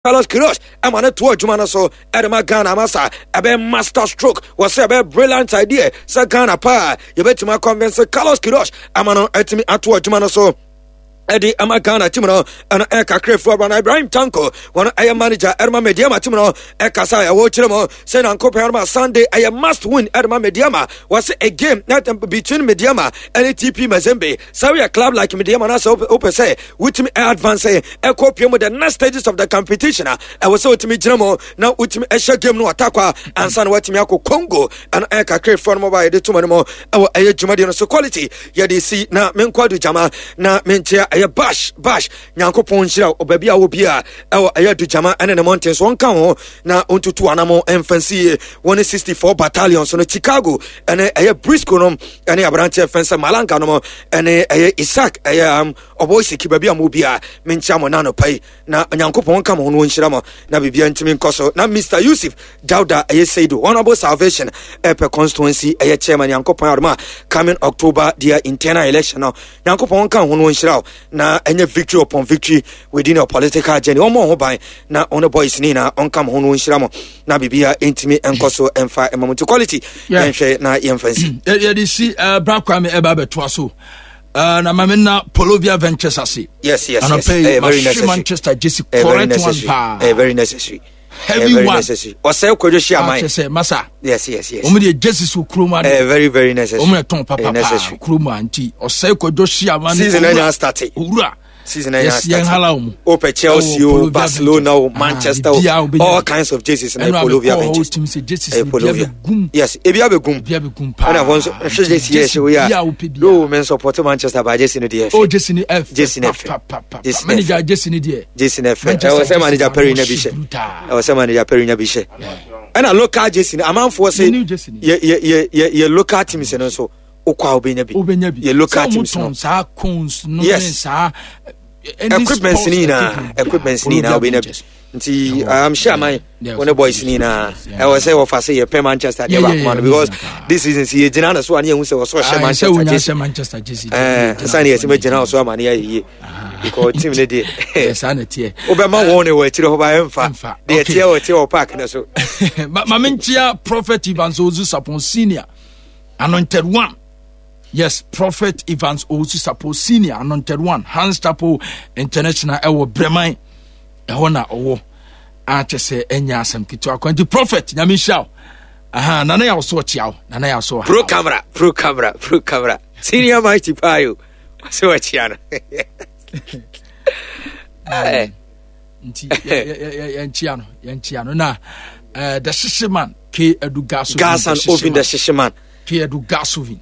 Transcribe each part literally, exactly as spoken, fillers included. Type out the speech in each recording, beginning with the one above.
Carlos Queiroz ɛma no to adwuma no so ɛde ma Ghana ama sa ɛbɛyɛ master stroke wɔ sɛ ɛbɛyɛ brilliant idea sɛ Ghana paa yɛbɛtumi akɔnvince Carlos Queiroz ama no atumi ato adwuma no so ɛde ama Ghana team no. Ɛno ɛkakra firi ɔba na Ibrahim Tanko, wɔn ɛyɛ manager ɛde ma Medeama team no, ɛkasa a ɛwɔ kyerɛ mu sɛ Nyankopɔn ɛde Sunday ɛyɛ must win ɛde ma Medeama. Wɔsɛ a game between Medeama ɛne T P Mazembe, sɛ woyɛ club like Medeama na sɛ wopɛ sɛ wotumi advance ɛkɔ pie mu the next stages of the competition a, ɛwɔ sɛ wotumi gyina mu na wotumi ɛhyɛ game no atakwa ansa na watumi akɔ Congo. Ɛno ɛkakra firi no mu ba yɛde toma no mu ɛwɔ ɛyɛ dwumadie no so. Quality yɛde si na menkɔ adu gyama na menkyea ɛyɛ Bash Bash. Nyankopɔn nhyira wo baabi a wɔ bi a ɛwɔ ɛyɛ adugyama ɛne ne mmɔnten so, ɔnka ho na ɔntutu anamo ɛmfa nsi yie. Wɔne sixty-four battalion so no, Chicago ɛne ɛyɛ Brisco no ɛne aberanteɛ fɛn sɛ Malanga no ɛne ɛyɛ Isaac ɛyɛ um, ɔbɔ siki baabi a mo bi a menkyia mo nano pa yi na Nyankopɔn nka mo ho no ɔnhyira mo na biribia ntumi nkɔ so. Na Mister Yusuf Dauda ɛyɛ Seidu, Honorable Salvation ɛpɛ constituency ɛyɛ chairman, Nyankopɔn adom a coming October deɛ internal election no, Nyankopɔn nka ho no ɔnhyira wo na ɛnyɛ victory upon victory within your political journey. Ɔmmɔ ho ban na ɔne boys ne nyinaa ɔnka mo ho no ɔnhyira mo na biribia ntumi nkɔ so ɛmfa ɛma mo. Nti quality, yɛnhwɛ na yɛmfa nsi. Yɛde si bra Kwame ɛba abɛtoa so. Uh, na maame na Polovia Ventures ase. yes yes yes eh, very necessary. Manchester jersey, correct one paa. Eh, very necessary. Heavy very one. Necessary. Ɔsɛ Kwadwo hyia man. Akyɛ sɛ masa. yes yes yes Wɔn de jerseys wɔ kurom ade. Eh, very very necessary. Wɔn yɛ tɔn papa paa kurom a, nti ɔsɛ Kwadwo hyia man. Season ɛnya start. Owura. Season ɛnya start. Yɛn hala wɔn. Opɛ Chelsea o, Barcelona o, Manchester o, all kinds of jerseys na Polovia Ventures. Ɛnu abɛkɔ jerseys ni bi abɛgum. Yes, ebi abɛgum. Ebi abɛgum paa. Ɛna wɔn nso nhwɛ jersey yɛ ɛhyɛ wo yi a no men support Manchester ba jersey no deɛ ɛfɛ. O, jersey ni ɛfɛ. Jersey ni ɛfɛ. Jersey manager jersey ni deɛ. Jersey ni ɛfɛ. Ɛwɔ sɛ manager Perry nya bi hyɛ. Ɛwɔ sɛ manager Perry nya bi hyɛ. Ɛna local jersey ni amanfoɔ sɛ yɛ yɛ yɛ yɛ local teams no nso okɔ a wobɛnya bi. Wobɛnya bi. Yɛ local teams no. Saa cones no. Yes. Saa. Equipment ni nyinaa, equipment ni nyinaa wobɛnya bi. Nti I'm sure man wɔne boys ni nyinaa ɛwɔ sɛ wɔfa sɛ yɛpɛ Manchester deɛ baako ma no, because this season sɛ yɛgyina no so a ne yɛhu sɛ wɔsɛ ɔhyɛ Manchester jersey. Ɛɛ nsa ne yɛsɛ mɛgyina wo so ama ne yɛayɛ yie, because team no deɛ saa na teɛ. Wobɛma wɔn ne wɔ akyire hɔ ba ɛmfa deɛ ɛteɛ wɔ teɛ wɔ park no so. Ma menkyia Prophet Evans Ozu Sapon Senior, Anointed One. Yes, Prophet Evans Owusu Sapo Senior, Anointed One, Hans Chapel International ɛwɔ Breman ɛhɔ na ɔwɔ akyɛ sɛ ɛnyɛ asɛm ketewa kwan. Nti Prophet, Nyame nhyira wo. Aha nana yɛ so ɔkyea wo, nana yɛ so. Pro camera, pro camera, pro camera senior mighty payo sɛ ɔkyea no. Nti yɛnkyea no, yɛnkyea no na the hyehye man K Edu Gas. Gas and Oven, the hyehye man. K Edu Gas Oven.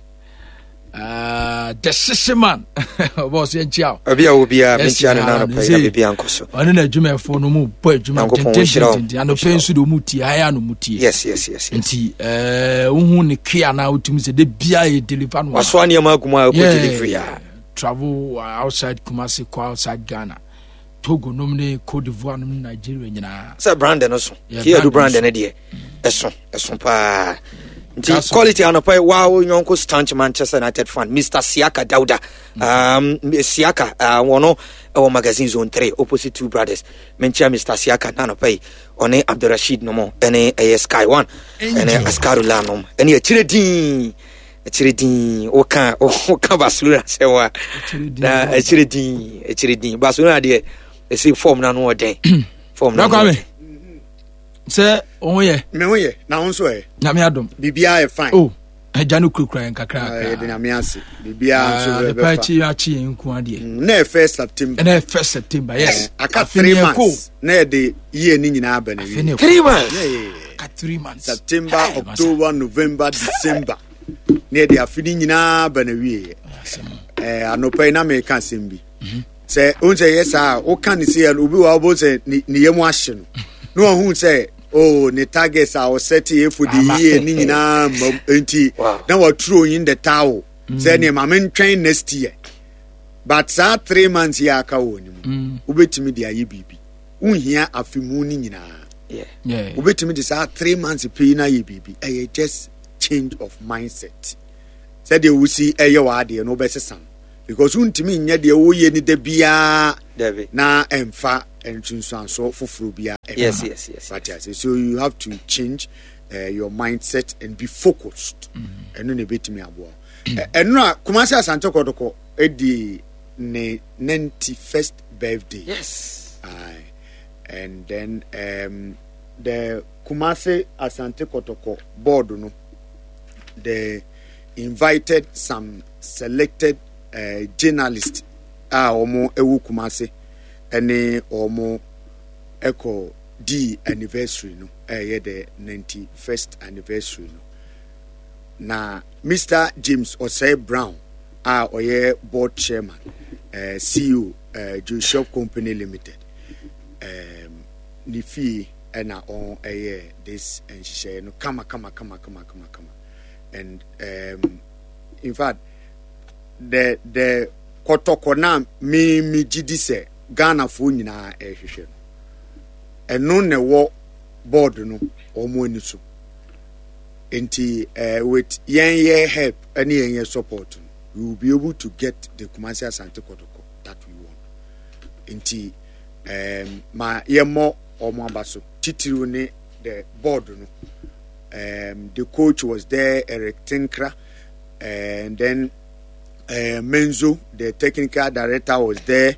Uh, the hyehye man ɔbɔ so, yɛnkyia wo. Obi a wo biara menkyia no nanɔpɛ yi na biribia nkɔ so. Ɔne na adwumayɛfoɔ no mu bɔ adwuma dendendenden. Anɔpɛ nso de ɔmu tie ayɛ ano mu tie. yes yes yes Nti wohu ne kea na wotumi sɛ de bia yɛ deliver no. Wasoa nneɛma agu mu a ɛkɔ delivery a. Travel outside Kumasi, kɔ outside Ghana, Togo nom ne Cote d'Ivoire nom ne Nigeria nyinaa. Sɛ brand no so kiadu brand no deɛ ɛso ɛso paa. Nti quality anɔpa yi waa wo nyɔnko staunch Manchester United fan, Mister Siaka Dauda, um, Siaka uh, wɔno ɛwɔ Magazine Zone three opposite Two Brothers. Menkyia Mister Siaka na anɔpa yi ɔne Abdulrashid nom ɛne ɛyɛ Sky One ɛne Askarula nom ɛne akyire din, akyire din woka woka Barcelona sɛ wa na akyire din, akyire din Barcelona deɛ ɛsɛ form no ano ɔdɛn form no ano ɔdɛn. Sɛ wo ho yɛ? Me ho yɛ, na wo nso ɛ? Nyame adom. Biribiara yɛ fine. Oh, agya no kurakura yɛn kakra kakra. Yɛde Nyame ase, biribiara nso bɛfa. Adepa akyi akyi yɛn nko adeɛ. Na yɛ first September. Na yɛ first September, yes. Aka three months na yɛde yie ne nyinaa aba na wie. Three months. Aka three months. September, October, November, December na yɛde afe ne nyinaa aba na wie. Ɛɛ anɔpa yi na meka asɛm bi sɛ ohun sɛ yɛ saa woka ne se obi wɔ ɔbɔ sɛ ne yam ahye no na ɔhu sɛ oh, ne targets a ɔsɛte yɛ for the year ne nyinaa mmam, nti na waturo in the towel sɛ nneɛma mentwɛn next year. But saa three months yi aka wɔ ne mu, wobɛtumi de ayɛ biribi. Wonhia afe mu no nyinaa, wobɛtumi de saa three months pii no ayɛ biribi. Ɛyɛ just change of mindset, sɛdeɛ wosi ɛyɛ w'adeɛ no wobɛsesa no. Because wontumi nyɛ deɛ woyɛ ni da biara Dabi. na ɛmfa nsunsuansoɔ foforɔ biara ɛmma. Yes, yes, yes, Wate ase? So you have to change uh, your mindset and be focused. Ɛno na ebetumi aboa wo. Ɛ- ɛno a Kumasi Asante Kɔtɔkɔ edi ne ninety first birthday. Yes. Aye. And then um, the Kumasi Asante Kotoko board no, they invited some selected uh, journalists a wɔn ɛwɔ Kumasi ɛne wɔn ɛkɔ di anniversary no, ɛyɛ the ninety first anniversary no. Na Mister James Osei Brown a ɔyɛ board chairman, uh, C E O, uh, Joshua Company Limited, um, ne fie ɛna ɔn ɛyɛ this nhyehyɛeɛ no kama kama kama kama kama kama. And um, in fact, the the Kɔtɔkɔ na me me gyi di sɛ Ghanafoɔ nyinaa ɛrehwehwɛ no, ɛno na ɛwɔ board no wɔn ani so. Nti uh, with yɛn yɛ help ɛne yɛn yɛ support no, we will be able to get the Kumasi Asante Kɔtɔkɔ that we want. Nti um, ma yɛmmɔ wɔn aba so, titiriw ne the board no. um, the coach was there, Eric Tinkra, and then uh, Menzo, the technical director, was there.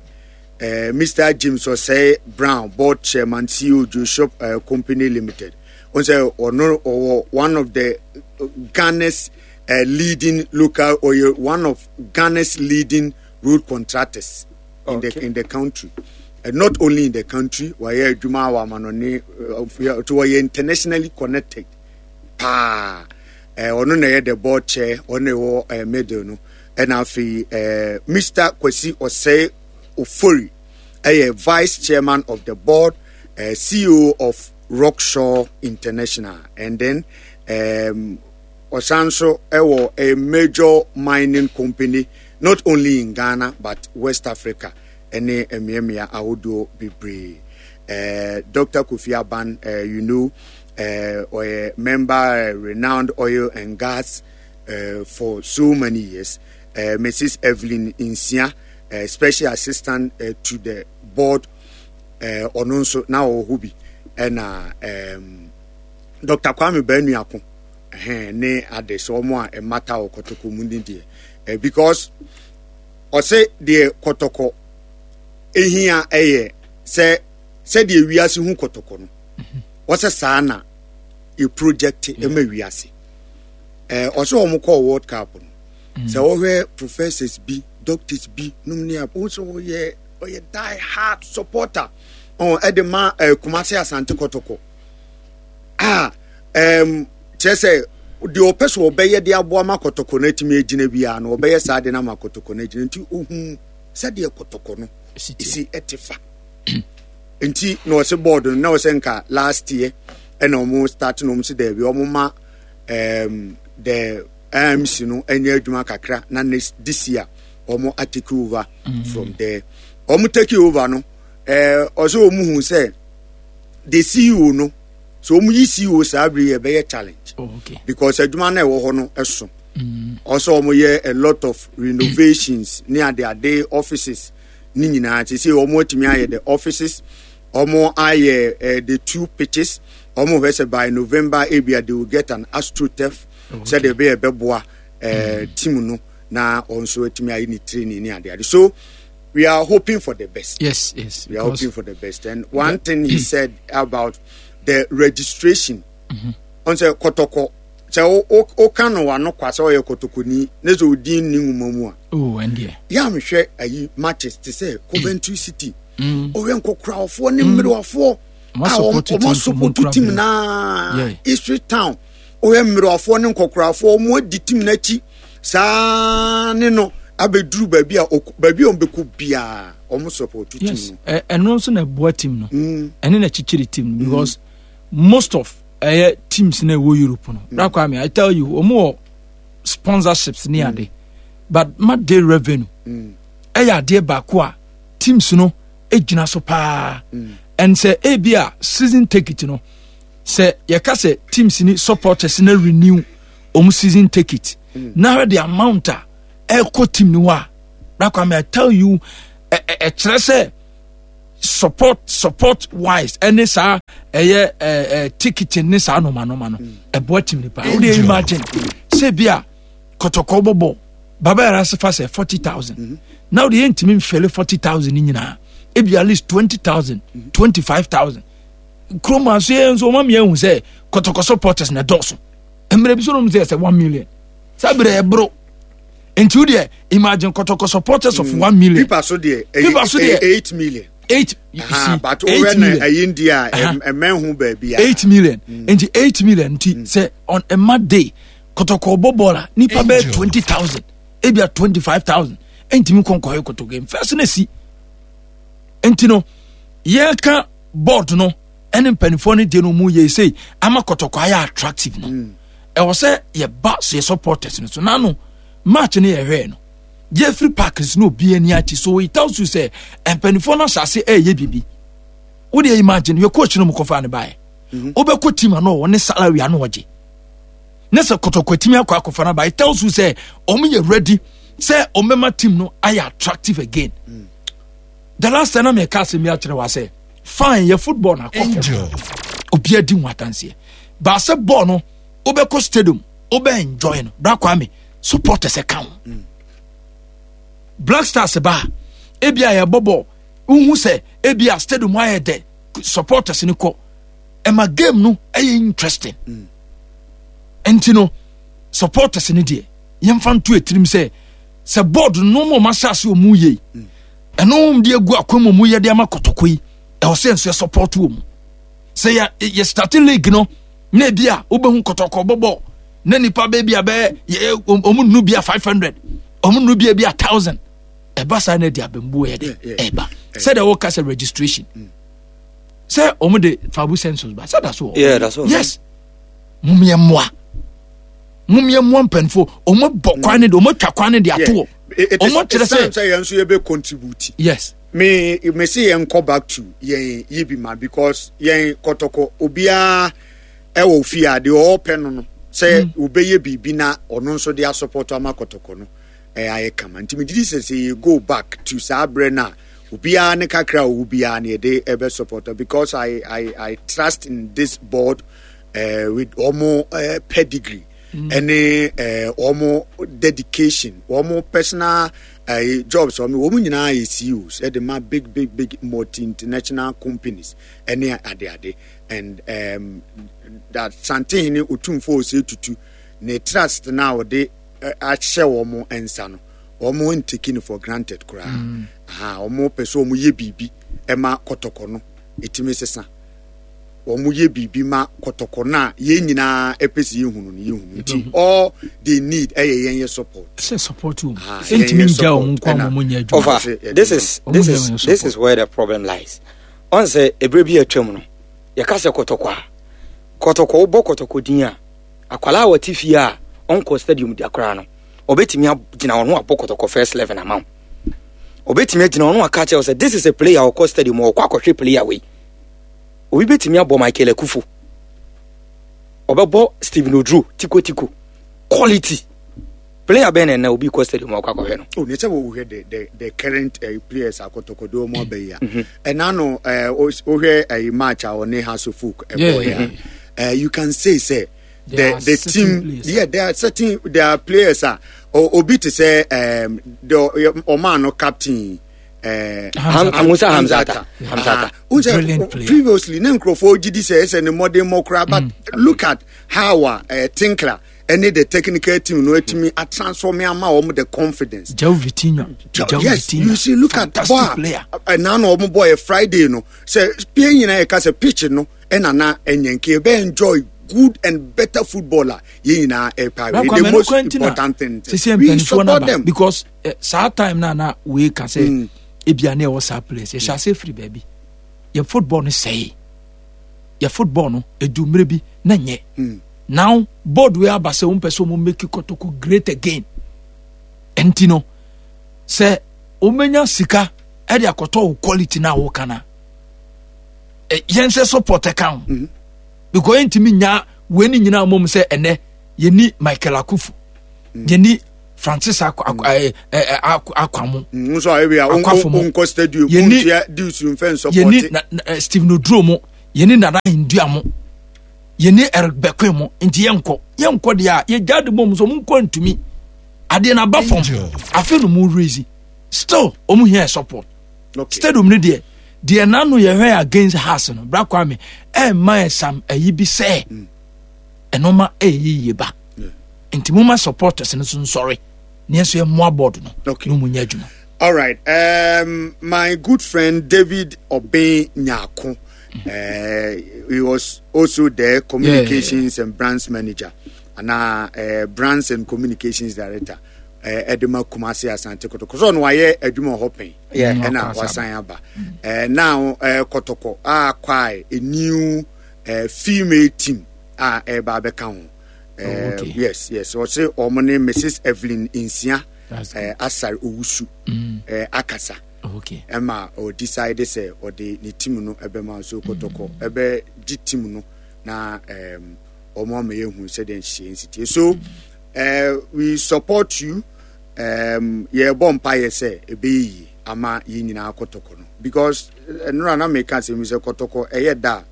Uh, Mister James Osei Brown, board chairman, C E O, Joshua uh, Company Limited. Ɔse ɔno one of the uh, Ghana's uh, leading local or one of Ghana's leading road contractors in Okay. the in the country. Uh, not only in the country, wɔyɛ adwuma wɔ amanɔne, uh, to wɔyɛ internationally connected paa. Eh, ɔno na ɛyɛ the board chair, ɔno na ɛwɔ eh, middle no. Ɛna afei eh, Mister Kwesi Osei Ofori ɛyɛ vice chairman of the board, uh, C E O of Rockshaw International, and then um, ɔsan so ɛwɔ a major mining company not only in Ghana but West Africa ɛne mmeammea ahodoɔ bebree. uh, Doctor Kofi Aban, uh, you know uh, ɔyɛ member, uh, renowned oil and gas uh, for so many years. uh, Missus Evelyn Nsia, uh, special assistant uh, to the board, uh, ɔno nso na ɔwɔ hɔ bi. Ɛna um, Doctor Kwame Banuako ɛhɛn ne ade sɛ ɔmo a ɛmata wɔ Kɔtɔkɔ mu ne deɛ, eh, because ɔsɛ deɛ Kɔtɔkɔ ehia ɛyɛ sɛ sɛdeɛ wiase hu Kɔtɔkɔ no, wɔsɛ saa na e project ɛma wiase. ɛɛ ɔsɛ wɔn kɔɔ World Cup no, sɛ wɔhwɛ professors bi, doctors bi nom ne a wɔn sɛ wɔyɛ ɔyɛ die hard supporter ɔn ɛde ma ɛɛ Kumasi Asante Kɔtɔkɔ a ɛɛm kyerɛ sɛ deɛ ɔpɛ so ɔbɛyɛ de aboa ma Kɔtɔkɔ no atumi agyina biara no, ɔbɛyɛ saa de no ama Kɔtɔkɔ no agyina. Nti ohun sɛdeɛ Kɔtɔkɔ no Esi tie. esi ɛte fa. Nti na ɔsɛ board no na ɔsɛ nka last year ɛna ɔmo start na ɔmo sɛ dɛbi, ɔmo ma um, the I M C no ɛnyɛ adwuma kakra na next this year ɔmo atake over mm. from there. Ɔmo take over no, ɛɛ ɔsɛ ɔmo hu sɛ the C E O no, so ɔmo yi C E O saa bere yɛ bɛyɛ challenge Oh, okay. because adwuma no a ɛwɔ hɔ no ɛso. Ɔsɛ ɔmo yɛ a lot of renovations ne adeade, offices ne nyinaa. Te sɛ ɔmo atumi ayɛ the offices, ɔmo ayɛ uh, the two pitches. Ɔmo hwɛ sɛ by November ebia they will get an astroturf Okay. sɛdeɛ ɛbɛyɛ ɛbɛboa ɛɛ team no na ɔnso atumi ayɛ ne training ne adeade. So we are hoping for the best. Yes, yes. We are because- hoping for the best. And one thing he said about the registration, ɔn sɛ Kɔtɔkɔ, sɛ wo- wo- woka no wano kwa sɛ ɔyɛ Kɔtɔkɔni ne sɛ odin ni nwoma mu a, Oh, and yeah. yɛ a mehwɛ ayi matches te sɛ Coventry City, ɔhwɛ nkɔkorafoɔ ne mmerewafoɔ Ɔmo a support team ɔmo from support Nkura team bere. naa. Yeah. Ipswich Town, ɔhwɛ mmerewafoɔ ne nkɔkorafoɔ, ɔmo adi team n'akyi saa ne no abɛduru baabi a ɔkɔ- baabi a ɔmo bɛkɔ biara, ɔmo support team Yes. no. Ɛ- ɛno nso na ɛboa team no. Mm. Ɛne na kyikyiri team no because most of ɛyɛ teams na ɛwɔ Europe no. Mm. Kwame, I tell you, wɔn wɔ sponsorships ne ade, but match day revenue Mm. ɛyɛ adeɛ baako a teams no gyina so paa. And sɛ ebi a season ticket no, sɛ yɛka sɛ teams ni supporters na renew wɔn season ticket na hwɛ the amount a ɛkɔ team no hɔ a, Bra Kwame, I tell you, ɛkyerɛ sɛ support support wise, ɛne saa ɛyɛ ɛɛ ticketing ne saa noma noma no, ɛboa team nipa. O de imagine sɛ bi a Kɔtɔkɔ bɔbɔ Baba Yara ase fa sɛ forty thousand, na o de yɛn ntumi nfɛlɛ forty thousand ni nyinaa, ebi at least twenty thousand, twenty five thousand. Kurom aso yɛn nso wɔn amia ehu sɛ Kɔtɔkɔ supporters na ɛdɔɔso. Mmerɛ bi so nom sɛ ɛsɛ one million saa berɛ ɛboro. Nti wo deɛ imagine Kɔtɔkɔ supporters of mm. one million. Pipa so deɛ, pipa so deɛ eight million. Eight, you see. But eight million ɛyi ndi a ɛmɛn ho baabi a. Eight million mm. Nti eight million nti mm. sɛ on a mad day Kɔtɔkɔ bɔ bɔɔl a, nipa bɛyɛ twenty thousand, ebi a twenty five thousand ɛntumi nkɔ nkɔyɛ Kɔtɔ game first na si. Nti no yɛka board no ɛne mpanimfoɔ no deɛ no mu yɛ sei ama Kɔtɔkɔ ayɛ attractive no, ɛwɔ sɛ yɛba so yɛ supporters no so. Nano match no yɛhwɛɛ no, yɛfiri park so na obi ani akyi, so it tells you sɛ mpanimfoɔ no ahyɛ ase ɛyɛ biribi. Wode imagine yɛ coach no mu kɔfa ne baeɛ, wobɛkɔ team ano ɔwɔ ne salary ano ɔgye ne sɛ Kɔtɔkɔ atumi akɔ akɔfa no ba, it tells you sɛ ɔmo yɛ ready sɛ ɔmbɛma team no ayɛ attractive again mm. The last time na mɛka asɛm bi akyerɛ wa sɛ fine, yɛ football na akɔ fam, obiara di ho adanseɛ baasɛ bɔɔl no, wobɛkɔ stadium, wobɛ enjoy no. Bra Kwame, supporters ɛka ho mm. Black Stars ba, ebi a yɛbɔ bɔɔl, wohu sɛ ebi a stadium ayɛ dɛ, supporters no kɔ, ɛma game no ɛyɛ interesting mm. Nti no supporters no deɛ, yɛmfa nto etirim sɛ sɛ board no mu ɔmo ahyɛ ase ɔmo yie, ɛno wɔn de agu akwan mu ɔmo yɛ de ama Kɔtɔkɔ yi, ɛwɔ sɛ nso yɛ support wɔ mu sɛ yɛ yɛ start league no na ebi a wobɛhu Kɔtɔkɔ bɔbɔ na nipa bɛɛ bi a bɛyɛ yɛ ɔmo nnu bi a five hundred, ɔmo nnu bi a bi a thousand. Ɛba saa na ɛde abɛnbuo yɛ de ɛba sɛdeɛ wɔka sɛ registration sɛ ɔmo de fabu census ba sɛ da so wɔ. Yes, mo yɛ mmoa, mo yɛ mmoa mpanyinfoɔ, ɔmo bɔ kwan ne de, ɔmo atwa kwan ne de ato hɔ, ɔmo kyerɛ sɛ sɛ yɛn nso yɛ bɛ contribute. Yes. Me me se yɛn kɔ back to yɛn yi bi ma because yɛn Kɔtɔkɔ obiara ɛwɔ fie a deɛ ɔɔpɛ no no sɛ obɛyɛ biribi na ɔno nso de asopɔtɔ ama Kɔtɔkɔ no, ɛyɛ ayɛ kama. Nti megye di sɛ sɛ yɛ go back to saa berɛ no a, obiara ne kakra a ɔwɔ biara ne yɛde ɛbɛ support, because I, I, I trust in this board uh, with ɔmo uh, pedigree ɛne uh, ɔmo dedication, ɔmo personal uh, jobs. Ɔmo wɔn nyinaa yɛ C E Os ɛde ma big big big multi international companies ɛne adeade, and um, that Santehene Otumfo Osei Tutu ne trust na ɔde ahyɛ wɔn nsa no, wɔn ntake no for granted koraa mm. Aha, wɔn pɛ sɛ wɔn yɛ biribi ɛma Kɔtɔkɔ no etimi sesa. Wɔn yɛ biribi ma Kɔtɔkɔ no a yɛn nyinaa ɛpɛ sɛ yɛhunu no, yɛhunu. Nti all they need ɛyɛ yɛn yɛ support. Sɛ support o, ntumi ngya wɔn nko ama wɔn nyɛ adwuma. Over, this is this is this is where the problem lies. Ɔn sɛ ebere bi atwam no, yɛka sɛ Kɔtɔkɔ a, Kɔtɔkɔ, wobɔ Kɔtɔkɔ din a, akwalaa a wɔte fie a ɔnkɔ stadium da koraa no, ɔbɛtumi agyina ɔno abɔ Kɔtɔkɔ first eleven ama wo. Ɔbɛtumi agyina ɔno aka kyerɛ sɛ this is a player ɔkɔ stadium, ɔkɔ akɔhwɛ player wei. Obi bɛtumi abɔ Michael Akufo, ɔbɛbɔ Steven Oduro tikotiko quality player bɛn na ɛnna obi kɔ stadium ɔkɔ akɔhwɛ no. O ne sɛ wɔhwɛ the the the current uh, players akɔtɔkɔdo ɔmo aba yi a, ɛna no wohwɛ ɛyi match a ɔne Hearts of Oak ɛbɔ yɛ a, you can say sɛ the the team players. Yeah, there are certain, there are players a obi te sɛ um, the ɔmaa no captain, uh, Musa Hamzata. Hamzata. Uh, previously ne nkurɔfoɔ gyi di sɛ ɛsɛ ne mmɔden mmɔ koraa, but mm. look at how a uh, Tinkler ɛne the technical team no atumi atransform ama wɔn the confidence. Joe Vitinha. Joe, yes, Vitinha. You see, look at fantastic player. Ɛna na wɔn bɔ yɛ Friday no sɛ pie nyinaa yɛ ka sɛ pitch no ɛna na ɛnyɛ nke ebe enjoy good and better football a yɛn nyinaa ɛpa. The most important thing, we support them because uh, saa time na na wei ka sɛ mm. ebia ne ɛwɔ saa players yɛhyɛ ase firi baabi yɛ football no sɛe, yɛ football no edu mmerɛ bi na nyɛ mm. Now board wei aba sɛ wɔn pɛ sɛ wɔn make Kɔtɔkɔ great again. Nti no sɛ wɔn sika ɛde akɔtɔ wo quality na wɔka na yɛn sɛ support ɛka ho mm-hmm. because yɛntumi nya wei ne nyinaa mom sɛ ɛnɛ yɛni Michael Akufo mm. yɛni Francis akwa akwa mo. Nso a ebi a Akwafo mo. Nkɔ stadium. Yɛni- Ntua dues nfɛn yɛni support. na, na, eh, Stephen Oduro mo, yɛni Nana Ndua mo, yɛni Eric Bekwe mo. Nti yɛnkɔ yɛnkɔ deɛ a yɛgya de bɔ mu so ɔmo nkɔ ntumi adeɛ na aba fam. Afei no mo raise, still ɔmo hia support. Okay. Stadium no deɛ deɛ nano yɛhwɛ against Hearts no, bra Kwame, ɛmma yɛ sam ayi bi sɛ ɛnoma ɛyɛ yie ba. Yeah. Nti moma supporters no so nsɔre ne nso yɛmmoa board no Okay. na ɔmu nyɛ adwuma. All right. Um, my good friend David Obin Nyako, uh, he was also the communications and brands manager, and uh, uh, brands and communications director. Uh, Edema Kumasi Asante Kotoko. So no, I adwuma hɔ pɛn. Yeah. Ɛna Mm, wasan aba. Uh, now uh, Kotoko acquire a new uh, female team a ɛba abɛka ho. Uh, Oh, okay. Yes, yes. Ɔsɛ ɔmo ne Missus Evelyn Nsia That's uh, Asare Owusu Mm. uh, akasa okay ɛma ɔdecide sɛ ɔde ne team no ɛbɛma. So Kɔtɔkɔ ɛbɛgye team no na um, ɔmo ama yɛhu sɛdeɛ nhyehyɛ nsitie. So uh, we support you. um, yɛbɔ mpayɛ sɛ ɛbɛyɛ yie ama yɛn nyinaa Kɔtɔkɔ no, because nnora na meka sɛ mi sɛ Kɔtɔkɔ ɛyɛ da a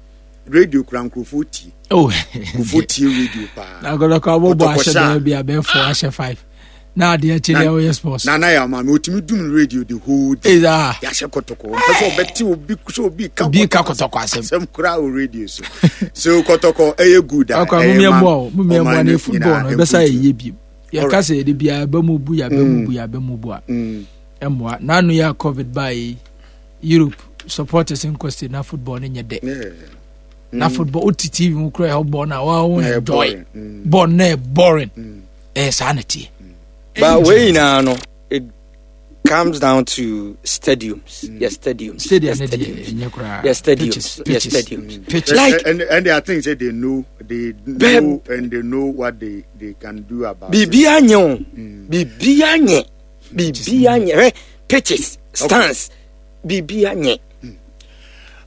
radio kura nkurɔfoɔ tie. Oh. Nkurɔfoɔ tie radio paa. Na Kɔtɔkɔ abɔbɔ Kɔtɔkɔ ahyɛ hyɛ a- dɛm bi abɛɛfo ahyɛ five na adeɛ akyi deɛ wɔyɛ sports. Nana yɛ ama mi otumi dum radio the whole day. Ɛza. Yɛahyɛ Kɔtɔkɔ, mpɛ sɛ ɔbɛte obi sɛ obi ka Obi ka Kɔtɔkɔ asɛm. Asɛm koraa wɔ radio so. So Kɔtɔkɔ ɛyɛ good a Akɔ ɛyɛ mumia ma mmoa o, mumia ɔman mmoa ne no football nyinaa no ɛbɛsa mpuntuo. yɛ yie biem. Yɛka Alright. sɛ yɛde biara ɛbɛ mu bu, yɛabɛ mu bu, yɛabɛ mu bu a Mm. ɛmmoa. N'ano yɛ a COVID baa yi, Europe supporters nkɔ state na football no nyɛ dɛ. Yeah. Na football wote T V mu kora ɛhɔ bɔɔl no a wɔn Na ɛyɛ enjoy boring. Mm. bɔɔl no yɛ boring. Mm. Ɛyɛ saa na teɛ. But wei nyinaa no, it comes down to stadiums. Yes, stadiums. Stadium Yes, no deɛ stadiums. ɛnyɛ koraa. Yes, stadiums. Pitches, Yes, pitches. stadiums. Pitches. Like- and, and I think say they know they know and they know what they, they can do about it. Biribiara nyɛ o, biribiara nyɛ, biribiara nyɛ. Hwɛ, pitches, stands, biribiara nyɛ.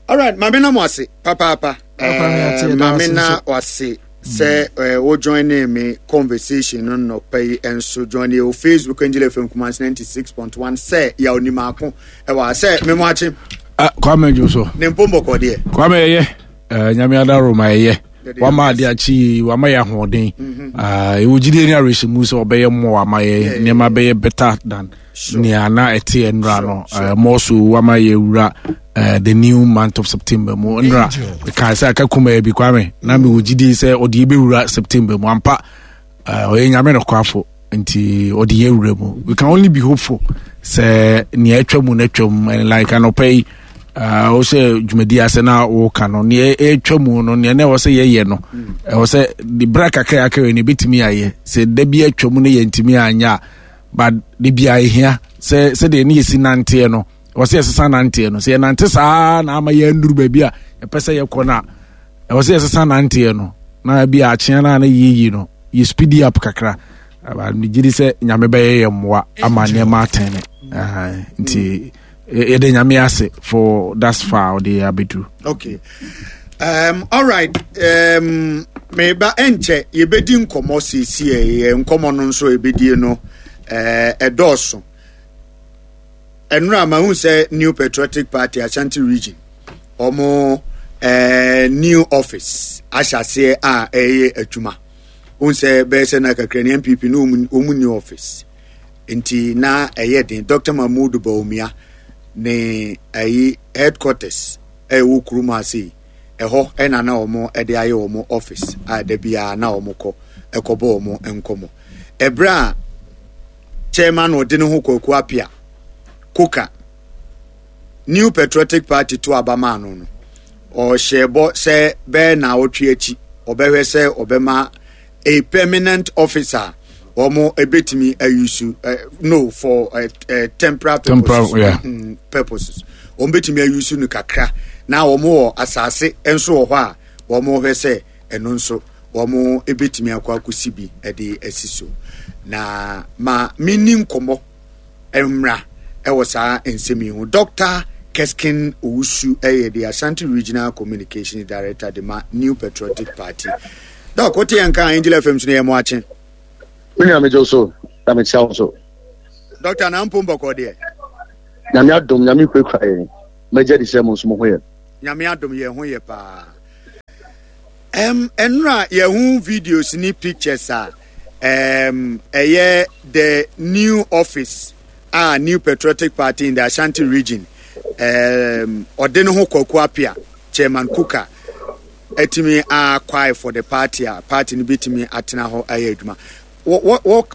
All right, maame na mo ase papaapa. Papa, me ate, Eh, yɛda maame ase na nso. wase sɛ eh, wo join me conversation no nnɔpa yi nso. Join yɛ wɔ Facebook, Angel F M Kumasi ninety-six point one. Sɛ yɛw ni maako ɛwɔ ha sɛ memo akye. Ah, Kwame dwo so. Ne mpombɔkɔ deɛ. Kwame, ɛyɛ. Eh, nyame adaro ma ɛyɛ. Yɛde Wama yɛ ade akyi yi, wama yɛ ahoɔden. Ah, ɛwɔ gyidie ne awerɛhyɛmu sɛ ɔbɛyɛ mmoa ama yɛ nneɛma bɛyɛ better than nea na ɛte nnora no. Eh, more so wama yɛ wura eh, the new month of September mu. Nnora mekae sɛ aka kumaa bi, Kwame, na mewɔ gyidie sɛ ɔde yɛbɛwura September mu ampa. Eh, ɔyɛ nyame nokwafo nti ɔde yɛ wura mu. We can only be hopeful sɛ nea atwa mu no atwa mu. And like anɔpa yi uh, wo sɛ dwumadi ase na woka no, nea ɛtwa mu no, nea na ɛwɔ sɛ yɛyɛ no, ɛwɔ sɛ de berɛ kakra akra no ɛbɛtumi ayɛ sɛ da bi atwa mu no yɛntumi anyɛ a, but de bia ɛhia sɛ sɛdeɛ ne yɛsi nanteɛ no, ɛwɔ sɛ yɛsesa nanteɛ no. Sɛ yɛnante saa na ama yɛanduru baabi a yɛpɛ sɛ yɛkɔ no a, ɛwɔ sɛ yɛsesa nanteɛ no na bi a akyea no a na yɛyi no yɛ speedy up kakra. Aba, megye di sɛ nyame bɛyɛ yɛ mmoa ama nneɛma atɛne. Aha, nti yɛ- yɛde nyame ase for thus far ɔde yɛ abɛduru. Okay, um, all right, um, meba ɛnkyɛ yɛbɛdi nkɔmmɔ seesie. Yɛ nkɔmmɔ no nso yɛbɛdie no eh, ɛdɔɔso. Ɛnora mahu sɛ New Patriotic Party Ashanti Region ɔmo eh, new office ahyɛ aseɛ a ɛyɛ adwuma. Wohu sɛ bɛyɛ sɛ na kakra ne N P P ne ɔmu ɔmu new office nti na ɛyɛ den. Doctor Mahmood Bawumia ne ayi headquarters ɛwɔ kurom ase yi, ɛhɔ ɛna na wɔn ɛde ayɛ wɔn office a da biara na wɔn kɔ ɛkɔbɔ wɔn nkɔmɔ. Ɛbrɛ a chairman ɔde ne ho Kwaku Apia Koka New Patriotic Party to aba maa no no, ɔhyɛ bɔ sɛ bɛyɛ na ɔtwe akyi ɔbɛhwɛ sɛ ɔbɛma a permanent officer wɔn ebetumi ayusu uh, no for uh, uh, temporary purposes. Temporary, yeah. mm, purposes wɔn betumi ayusu no kakra na wɔn wɔ asase nso wɔ hɔ a wɔn hwɛ sɛ ɛno nso wɔn ebetumi akɔ akɔsi bi ɛde asi so. Na ma mini nkɔmɔ mmra ɛwɔ saa nsɛm yi ho. Doctor Keskin Owusu ɛyɛ the Ashanti Regional Communications Director de ma New Patriotic Party. Doc, wote yɛn ka Angel F M so no, yɛ mo akye. Me nua, megye wo so. Na mekyia wo so. Doctor, na mpom bɔkɔ deɛ? Nyame adom, Nyame kurakura yɛn. Mɛgye adi sɛ mo nso mo ho yɛ. Nyame adom, yɛn ho yɛ paa. Um, ɛnora yɛho videos ne pictures a um, ɛyɛ the new office a New Patriotic Party in the Ashanti Region, um, ɔde ne ho Kwaku Apia, Chairman Kuka, atumi acquire for the party a party no bɛtumi atena hɔ ayɛ adwuma.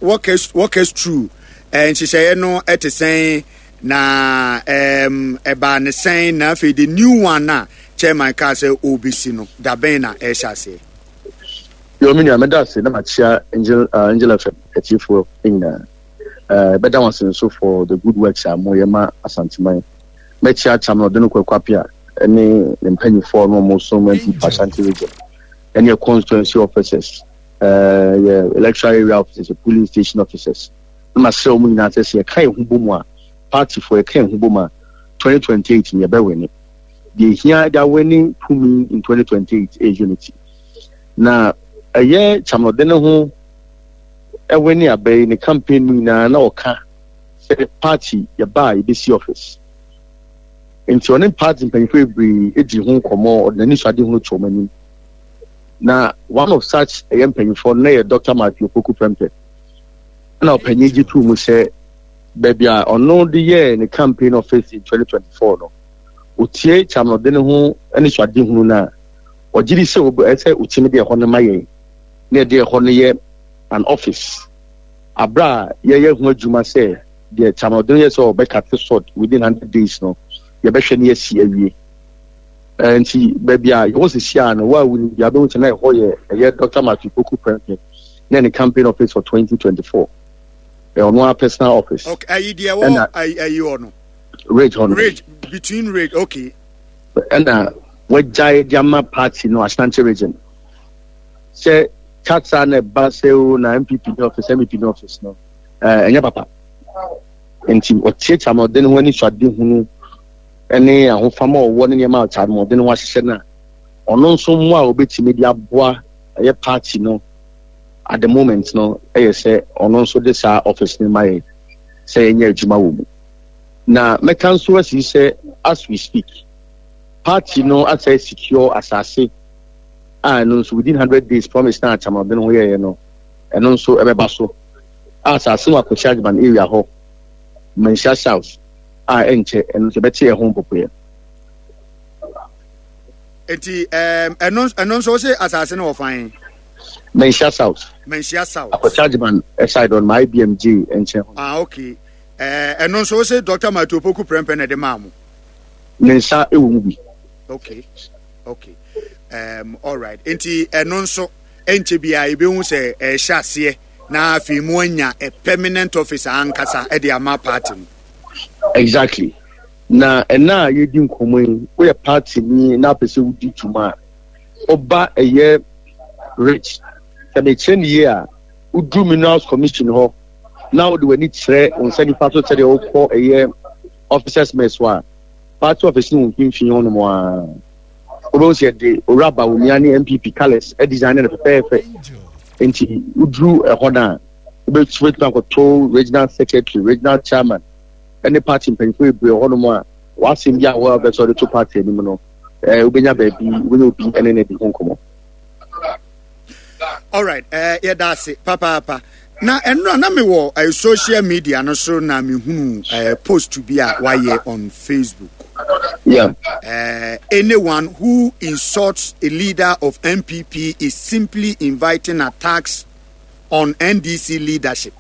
Walk us, walk us through nhyehyɛeɛ no. Ɛte sɛn na um, ɛbaa ne sɛn, na afei the new one a chairman kaa sɛ ɔrebɛsi no, dabɛn na ɛhyɛ aseɛ? Yo, me nua, mɛda ase na makyia Angel, uh, Angel F M atiefoɔ nyinaa. uh, bɛda wɔn ase nso for the good works a moyɛ ma Asanteman. Mɛkyia Chairman ɔde no Kwaku Apia ne ne mpanyinfoɔ no ɔmo som N P P Ashanti Region ɛne yɛ constituency officers, uh, yɛ electoral area officers, yɛ polling station officers, na masrɛ wɔn nyinaa sɛ sɛ yɛka yɛn ho bɔ mu a, partyfoɔ yɛka yɛn ho bɔ mu a, twenty twenty-eight ni yɛbɛwin. Deɛ ehia de awin tumi in twenty twenty-eight ɛyɛ unity. Na ɛyɛ Chairman ɔde ne ho ɛwin aba yi, ne campaign mu nyinaa na ɔka sɛ party yɛba a, yɛbɛsi office. Nti ɔne party mpanyinfoɔ bebree edi ho nkɔmɔ, ɔde n'ani so ade ho to wɔn anim. Na one of such ɛyɛ mpanyinfoɔ no na yɛ Doctor Matthew Opoku Prempeh. Ɛna ɔpanyin gye tuu mu sɛ baabi a ɔno de yɛɛ ne campaign office in twenty twenty-four no, otie Chairman ɔde ne ho ne so ade hunu no a, ɔgye di sɛ ɛsɛ otimi de ɛhɔ no ma yɛn na yɛde ɛhɔ no yɛ an office abra a yɛyɛ ho adwuma, sɛ deɛ Chairman ɔde no yɛ sɛ ɔbɛcut sod within hundred days no, yɛbɛhwɛ ne yɛsi awie. ɛɛ nti baabi a yɛwɔ sisi a no wa wuni bi abɛhu sɛ na ɛhɔ yɛ ɛyɛ Doctor Matthew Poku Prempeh na ne campaign office for twenty twenty-four, ɛyɛ ɔno ara personal office. Okay, ayi deɛ wɔ ayi ayi hɔ no? Ridge hɔ no. Ridge, between Ridge, okay. Ɛna wagyae de ama party no Ashanti Region sɛ kasa na ɛba sɛ o na N P P ne office, N P P ne office no, ɛɛ ɛnyɛ papa. Nti ɔtie Chairman ɔde ne ho ani so ade hunu ne ahofama a ɔwɔ ne nneɛma a Chairman ɔde ne ho ahyehyɛ no a, ɔno nso mmoa a obetumi de aboa ɛyɛ party no at the moment no, ɛyɛ sɛ ɔno nso de saa office no ma yɛ sɛ yɛnyɛ adwuma wɔ mu. Na mɛka nso asi sɛ as we speak, party no asɛ secure asase a ɛno nso within hundred days promise na Chairman ɔde ne ho yɛyɛ no, ɛno nso ɛbɛba so a asase no akɔhyɛ Agyeman area hɔ, Manhyia South, a ɛnkyɛ ɛno nso ɛbɛte ɛho mpopoeɛ. Nti ɛno ɛno nso wose asase no wɔ fan? Manhyia South. Manhyia South. Akɔhyɛ Agyeman side on ma I B M G nkyɛn hɔ. Ah, okay. Ɛno nso wose Doctor Matthew Opoku Prempeh na ɛde maa mo? Ne nsa ɛwɔ mu bi. okay okay um, all right. Nti ɛno nso ɛnkyɛ biara yɛbɛhu sɛ ɛhyɛ aseɛ na afei mu anya a permanent office ankasa ɛde ama party no. Exactly. Na ɛna a yɛdi nkɔmmɔ yi, woyɛ party ni na apɛ sɛ wodi dwuma a, ɔba ɛyɛ Ridge, sɛ mekyerɛ ne yie a, woduru Minerals Commission hɔ na wode w'ani kyerɛ wo nsa nifa so sɛdeɛ wokɔ ɛyɛ officers mess hɔ a, party office no wɔ mfimfini hɔnom a, wobɛhu sɛ yɛde Owura Bawumia ne N P P colours design no fɛfɛɛfɛ. Nti woduru ɛhɔ no a, wobɛtumi akɔto regional secretary, regional chairman ne party mpanyinfoɔ bebree wɔ hɔnom a w'asɛm bi a wɔabɛ sɛ ɔde to party anim no, ɛɛ wobɛnya baabi, wobɛnya obi ɛne ne di ho nkɔmmɔ. Alright, uh, yɛda ase papaapa. Na ɛnora na mewɔ uh, social media no so na mehunu uh, post bi a wayɛ on Facebook. Yeah. Uh, anyone who insults a leader of N P P is simply inviting attacks on N D C leadership.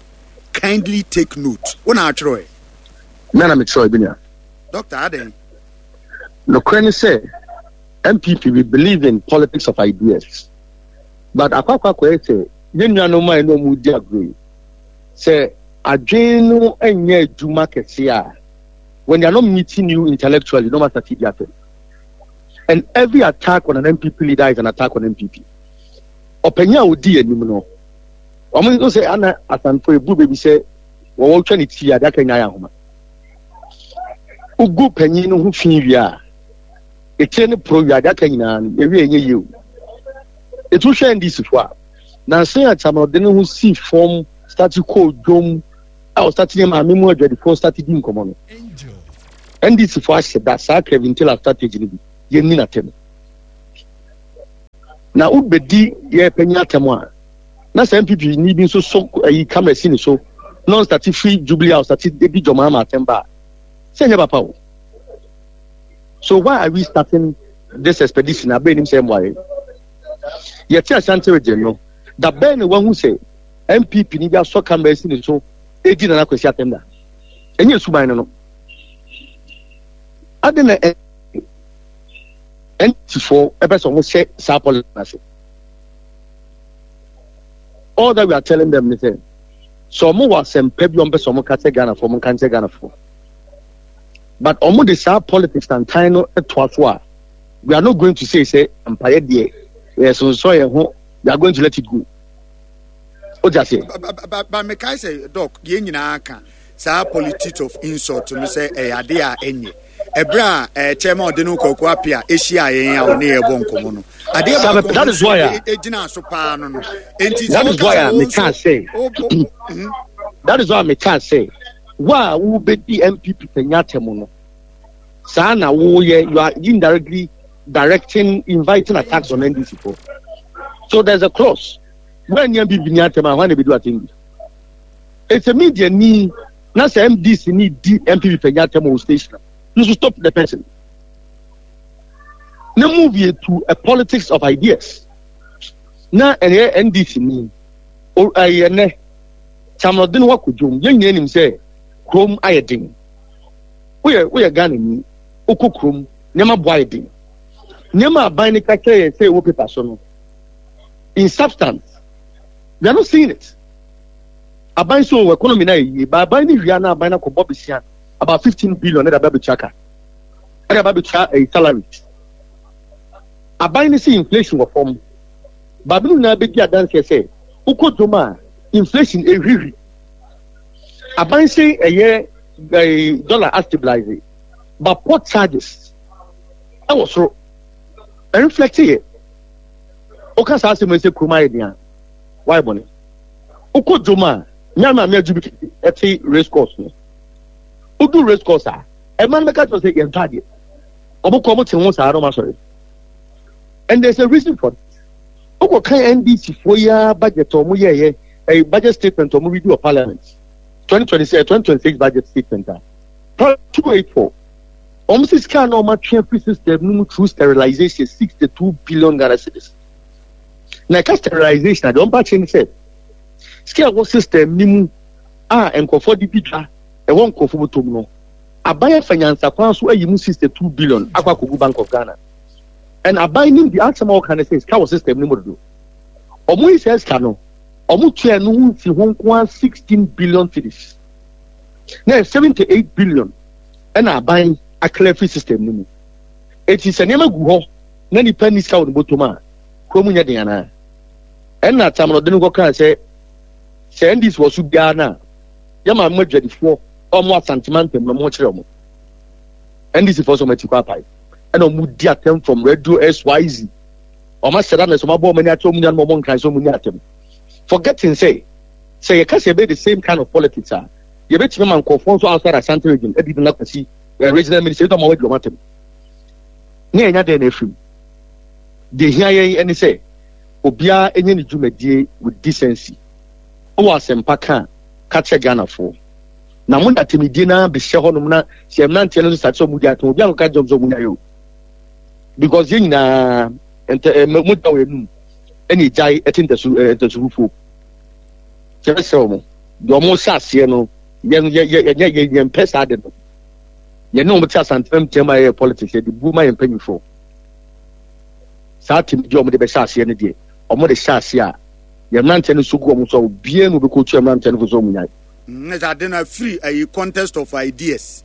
Kindly take note. Wo na atwerɛ? Me na metwerɛ bi nua. Doctor, aden? Nokorɛ ne sɛ N P P, we believe in politics of ideas, but akɔ akɔ akɔyɛ sɛ yɛn nuanom a ɛne ɔmo di agorɔ yi sɛ adwene no nyɛ adwuma kɛse a, when they are not meeting you intellectually, no matter di atɛm. And every attack on an N P P leader is an attack on N P P. Ɔpanyin a odi anim no, wɔn nso sɛ ana Asanfo ebu beebi sɛ wɔwɔ twa ne ti ade aka nya ayɛ ahoma. Ugu panyin no ho fi wie a, etire ne poro wie ade aka nyinaa no ewie enye yie o. Etu hwɛ N D C fo a nansi a Chairman ɔde ne ho si fam. Start kɔɔ dwom a ɔstart ne maame mu adwadifoɔ start di nkɔmmɔ no, N D C foɔ ahyɛ da saa Kevin Taylor strategy no bi. Yɛnni n'atɛm na wobɛdi yɛ panyin atɛm a, na sɛ N P P ni bi nso so ayi camera si ne so na ɔstart firi Jubilee House start di John Mahama atɛm ba a, sɛ nyɛ papa o. So why are we starting this expedition abɛn nim sɛ mmoa yɛ yɛte Ashanti Region no da bɛn na wahu sɛ N P P ni bi asɔ camera si ne so edi Nana Kwasi atɛm da? Ɛnyɛ suban no no ade na N D C foɔ ɛpɛ sɛ ɔmo hyɛ saa policy na ase. All that we are telling them ne sɛ sɛ ɔmo wɔ asɛmpa bi a ɔmo pɛ sɛ ɔmo ka kyerɛ Ghanafoɔ, ɔmo nka nkyerɛ Ghanafoɔ, but ɔmo de saa politics tantan no toa so a, we are not going to say sɛ mpaeɛ deɛ yɛ sonsɔn yɛn ho. We are going to let it go. O ti aseɛ? Ba ba mekae sɛ, Doc, yɛn nyinaa ka saa politics of insult no sɛ ɛyɛ ade a ɛnyɛ. Ɛberɛ a ɛɛ chairman ɔde no Kwaku Apia ahyia yɛn a ɔne yɛn bɔ nkɔmɔ no, adeɛ baako That is why a egyina so paa no no Enti that is why a meka sɛ, that is why meka sɛ wo a wobɛdi N P P panya atɛm no, saa na woyɛ, you are indirectly directing, inviting attacks on N D C for. So there's a clause when N P P ni atɛm a, hwan na ebedu atɛm bi? It's a media ni na sɛ N D C ni di N P P panya atɛm wɔ station, you should stop the person na move you to a politics of ideas. Na ɛyɛ N D C ni ɛyɛ nɛ Chamlɔden wakɔ dwom, yɛn nyinaa nim sɛ kurom ayɛ den. Woyɛ woyɛ Ghana ni, wokɔ kurom, nneɛma bo ayɛ den. Nneɛma aban ne ka kyerɛ yɛn sɛ ɛwɔ paper so no, in substance we are not seeing it. Aban so wɔ economy na yɛ yie ba, aban ne wia na aban na kɔ bɔ besia about fifteen billion ɛde aba abɛtua ka, ɛde aba abɛtua ɛyɛ salaries. Aban ne sɛ inflation wɔ fam, baabi no nyinaa bɛdi adanseɛ sɛ wokɔ dwom a, inflation ehwihwi. Aban sɛ ɛyɛ ɛɛ dollar astabilize, but port charges ɛwɔ soro, ɛreflect yɛ. Woka saa asɛm yi sɛ kurom ayɛ den a, wayɛ bɔne. Wokɔ dwom a, nyame maame adwu bi ɛte race course no, wodu race course a, ɛma no bɛka kyerɛ sɛ yɛntɔ adeɛ. Ɔmo kɔ, ɔmo te ho saa na ɔmo asɔre, and there is a reason for it. Wokɔ kan N D C foɔ yi ara budget a ɔmo yɛɛyɛ, ɛyɛ budget statement a ɔmo read wɔ parliament, twenty twenty six, twenty twenty six budget statement a two eight four, ɔmo sɛ sika na ɔmo atwe afiri system no mu through sterilization, sixty two billion Ghana cedis. Na ɛka sterilization a, deɛ ɔmo ba kyerɛ ne sɛ sika ɛwɔ system no mu a nkurɔfoɔ de di dwa, ɛwɔ nkurɔfoɔ bɔtɔm no, aban afa nyansakwan so ayi mu sixty two billion akɔ akɔgu Bank of Ghana. And aban nim di asɛm a ɔka ne sɛ sika wɔ system no mu dodo. Ɔmo yi sɛ sika no ɔmo tua no ho nsi ho nko ara sixteen billion cedis, na yɛ seventy eight billion ɛna aban aclear firi system no mu. Eti sɛ nneɛma gu hɔ na nipa ni sika wɔ ne bɔtɔm a, kurom nyɛ den anaa? Ɛna tamuna no kɔkaa sɛ sɛ N D C wɔ so biara na yɛ maame mu adwadifoɔ a ɔmo Asantema ntɛm na ɔmo kyerɛ ɔmo N D C foɔ sɛ ɔmo ati kɔ apae, ɛna ɔmo di atɛm from radio X Y Z. Ɔmo ahyɛ da na sɛ ɔmo abɔ ɔmo ani akyerɛ ɔmo nuanom, ɔmo nkran sɛ ɔmo ni atɛm, forgetting sɛ sɛ yɛka sɛ yɛbɛyɛ the same kind of politics a, yɛbɛtumi ama nkurɔfoɔ nso outside Ashanti Region adi Nana Kwasi eh, regional minister ɛdi ɔmo wadi ɔmo atɛm ne yɛnya dɛn na efirim. Deɛ hia yɛn ɛne sɛ obiara enye ne dwumadie with decency. Wɔ asɛmpa ka a, ka kyerɛ Ghanafoɔ na mo na atɛmidie naa bɛhyɛ hɔnom na sɛ mmeranteɛ no nso sate sɛ ɔmo di atɛm, obiara nkɔka kyerɛ ɔmo sɛ ɔmo nyae o, because yɛn nyinaa ntɛ ɛ mo da wɔ enum ɛna egyae ɛte ntasu ɛ ntasu fufuo. Kyerɛ sɛ ɔmo deɛ ɔmo hyɛ aseɛ no, yɛn yɛ yɛ yɛ yɛ yɛn mpɛ saa de no. Yɛn ne wɔn te Asantena ntɛm a yɛyɛ politics, yɛde bu ma yɛn mpanyinfoɔ. Saa atɛmidie a ɔmo de bɛhyɛ aseɛ no deɛ, ɔmo de hyɛ aseɛ a, yɛn mmeranteɛ no nso gu ɔmo so a, obiara na obɛkɔ otua mmeranteɛ no fo sɛ ɔmo nyae. Ne sɛ ade no afiri ayi contest of ideas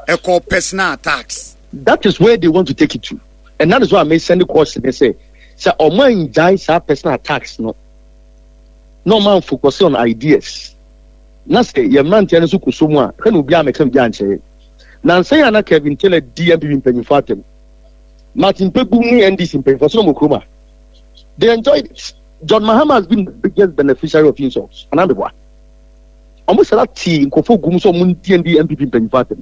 ɛkɔ personal attacks. That is where they want to take it to, and that is why I send the caution ne sɛ sɛ ɔmo angyae saa personal attacks no na ɔmo anfocus on ideas na sɛ yɛn mmeranteɛ no nso kɔ so mu a, hwɛ na obiara mɛka biribi ankyerɛ. Nansa yi a na Kevin Taylor di N P P mpanyinfoɔ atɛm, Martin Kpebu ne N D C mpanyinfoɔ so na ɔmo kurom a, they enjoyed it. John Mahama has been the biggest beneficiary of insults anaa meboa? Ɔmo sara tii nkurɔfoɔ gu mu sɛ ɔmo ndi ndi N P P mpanyinfoɔ atɛm.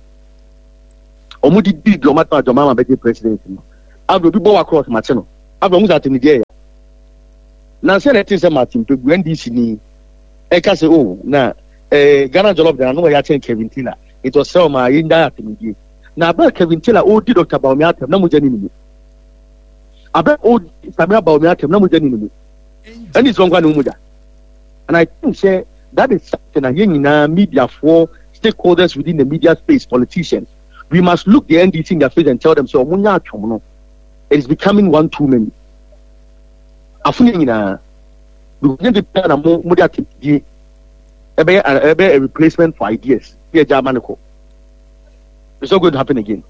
Ɔmo de di dwom atɛm a John Mahama bɛgye president no. Afei obi bɔ wa cross makye no. Afei ɔmo sɛ atɛmnideɛ yɛ. Nansa na ɛte sɛ Martin Pegu N D C ni ɛka sɛ oh na eh, Ghana Jollof de ano ɛyɛ akyɛn Kevin Taylor nti ɔsrɛ ɔmo a yɛngyae atɛmnidie. Na abere Kevin Taylor ɔredi Doctor Bawumia atɛm na mogya ni ne mu. Abere ɔredi Samira Bawumia atɛm na mogya ni ne mu. N D C wɔn kora ne mu mogya. And I think sɛ that is something a yɛn nyinaa mediafoɔ, stakeholders within the media space, politicians, we must look the N D C in their face and tell them sɛ ɔmo nya atwom no, it is becoming one too many. Afono nyinaa because nyɛ de bia na mo mo de atɛmdie ɛbɛyɛ ɛbɛyɛ a replacement for ideas bi ɛgya ama ne kɔ. It's not going to happen again.